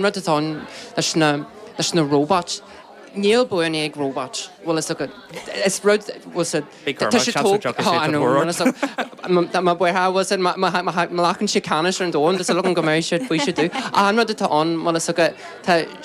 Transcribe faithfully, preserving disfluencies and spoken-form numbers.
rud atá ann leis na leis na robots. Níl buanna ag robot bhfuil a fhios agat is rud bhfuil sa tá sé má bhfuil má ghlacann sé ceannas ar an domhan tá súil agam go mbeidh siad faoi siad dú. An rud atá ann bhfuil a fhios agat tá